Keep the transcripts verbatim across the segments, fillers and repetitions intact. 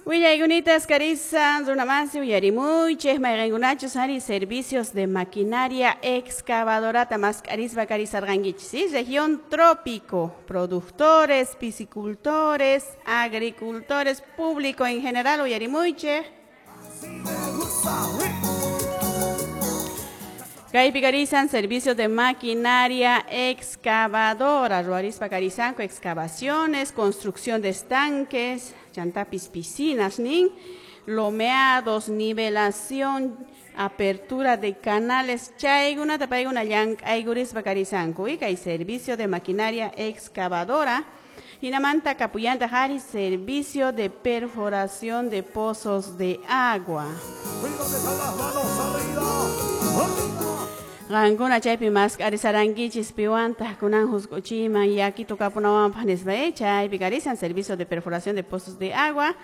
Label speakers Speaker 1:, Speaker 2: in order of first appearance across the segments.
Speaker 1: Willaykunitas karisan runamasi uyarimuychik mayqinkunachus ari servicios de maquinaria excavadorata mask'arispa karisarqankichis, ¿sí? Región trópico, productores, piscicultores, agricultores, público en general uyarimuychik. Kaypi karisan servicios de maquinaria excavadora, ruarispa karisanku excavaciones, construcción de estanques, chantapis piscinas nin, lomeados, nivelación, apertura de canales, chaykunata paykuna llank'aykurispa karisanku, y kay servicio de maquinaria excavadora. Hinamanta kapuyanta hari servicio de perforación de pozos de agua. Qankuna chaypi mask'arisarankichis piwantaq kunan husq'uchiyman yakitu kapunawanpaq nispa, eh, chaypi karisan servicio de perforación de pozos de agua,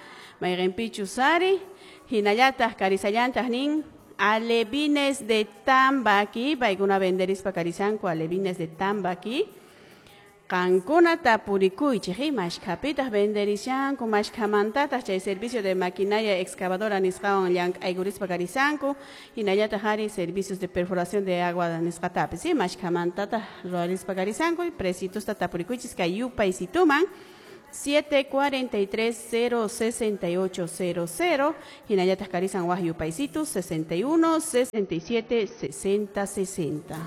Speaker 1: mayqinpichus ari, hinallataq karisallantaq nin alevines de Tambaqui, paykuna venderispa karisanku alevines de Tambaqui. Qankuna tapurikuychik, eh, mashkhapitaq venderishanku, mashkhamantataq chay servicio de maquinaria excavadora nisqawan llank'aykurispa karisanku, hinallataq ari servicios de perforación de agua nisqatapis, eh, mashkhamantataq ruwarispa karisanku, y precitusta tapurikuychis kay yupaysituman siete cuarenta y tres cero sesenta y ocho cero cero, hinallataq karisan waj yupaysitu sesenta y uno sesenta y siete sesenta sesenta.